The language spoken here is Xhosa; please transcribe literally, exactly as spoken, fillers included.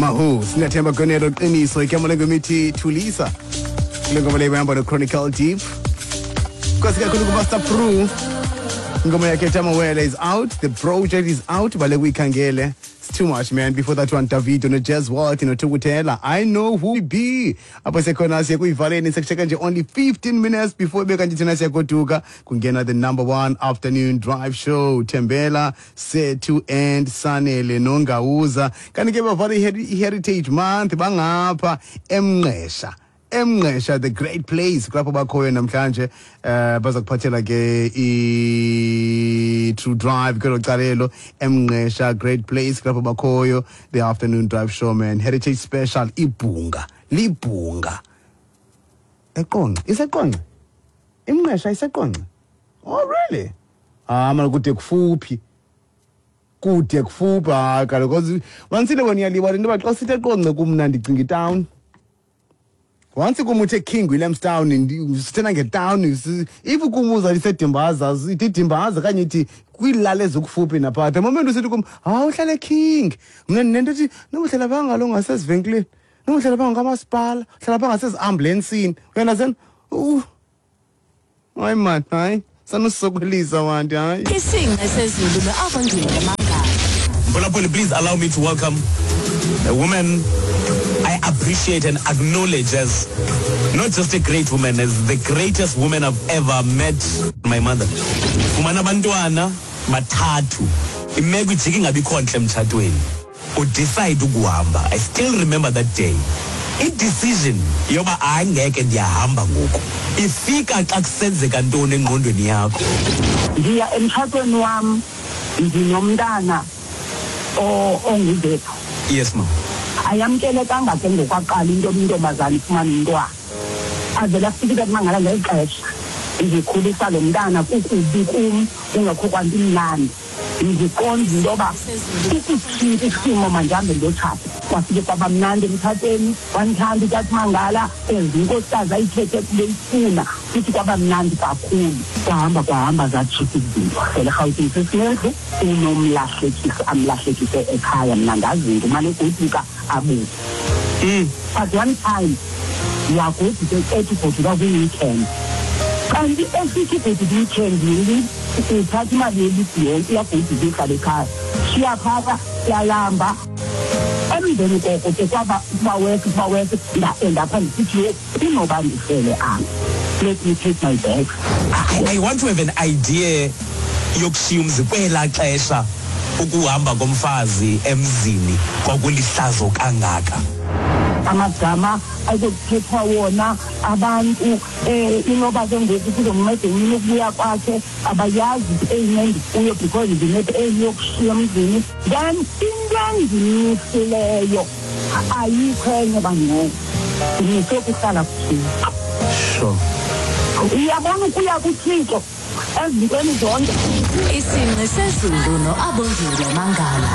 Mahu Sinethemba Gonelo Qiniso igama lengoma ithi Thulisa. Kule ngoma leyo ihamba no-Chronicle Deep. Nkosi kakhulu kuMaster Pru. Ingoma yakhe ethi Amawele is out. The project is out. Bale kuyikhangele. It's too much, man. Before that one, Davido no-Jazz Walt noThukutela. I Know Who We Be. Apho sekhona siye kuyivaleni sekusheka nje only fifteen minutes before ibe kanti thina siyagoduka. Kungena the number one afternoon drive show. Thembela, Sethu and Sanele Nongawuza. Kanti ke bavale i-Heritage Month bangapha eMngqesha. Emngqesha, the great place, kulapho bakhoyo namhlanje. eh baza kuphathela ke i-True Drive kwelo calelo. Emngqesha, great place, kulapho bakhoyo, the afternoon drive show, man. Heritage special, ibhunga libhunga eQonce. IseQonce iMngqesha, iseQonce. Oh really? Ah man, kude kufuphi, kude kufuphi. Hayi kaloku, because once wena uyalibala into yoba xa sithi eQonce kumna ndicinga itown. Once kum uthe King Williamstown, sithena ngetown. If kum uza liseDimbaza, ithi Dimbaza kanye ithi kwiilali ezikufuphi napha. The moment usithi kum, hawu, uhlale King, mna ndinento ethi noba uhlala phaa ngalo ngasezivenkileni, noba uhlala phaa ngamasipala, uhlala phaa ngaseziambulensini, uyandasena. Hayi man, hayi sanusokolisa bantu, hayi. Isinqe sezulu no-Abongile Mangala. Mphulaphuli, please allow me to welcome a woman I appreciate and acknowledge as not just a great woman, as the greatest woman I've ever met, my mother. Fumana abantwana bathathu. Imeko ijike ingabikho ntle emtshatweni. Udecide ukuhamba. I still remember that day. I-decision yoba hayi ngeke ndiyahamba ngoku ifika xa kusenzeka ntoni engqondweni yakho? Ndiya emtshatweni wam ndinomntana onguzethu. Yes, ma. Ayamkelekanga ke ngokwaqala into intombazana ifumane umntwana. Avele afike kumangala ngeli xesha ndikhulisa lo mntana, kukubi kum, kungekho kwanto imnandi. Ndiqonda into yoba isitshintsha isimo, mandihambe ndiyotshata. Kwafike kwaba mnandi emtshatweni, wandithanda utata Mangala as inkosikazi ayithethe beyifuna, futhi kwaba mnandi kakhulu. Kwahamba kwahamba, zatshintsha izinto. Sele eRhawutini sesinendlu, unomlahlekisi amlahlekise ekhaya. Mna ndazinto umane egoduka abuye. Mm. But one time wagoduka ethi ugoduka kwi-weekend, kanti esithi ugoduka i-weekend uthatha imali yeligi yonke, uyagoduka, ihlala ekhaya, shiya phaka, siyalamba. Emveni koko ke kwaba kuba worse, kuba worse. Nda-endapha ndisithi, yho, kunoba ndifele apha, let me take my bags. I, I want to have an idea yokushiya umzi. Kwelaa xesha ukuhamba komfazi emzini kwakulihlazo kangaka. Amagama azokuthethwa wona abantu, um inoba ke ngoku kuzomnceda emini ukubuya kwakhe, abayazi ipain endikuyo because ndinepain yokushiya emzini. Then into endimisileyo ayikho enye bangcono, ndimise ukuhlala kuThixo. Sure uyabona, ukuya kuThixo ezintweni zonke. Isinqe sezulu no-Abongile Mangala.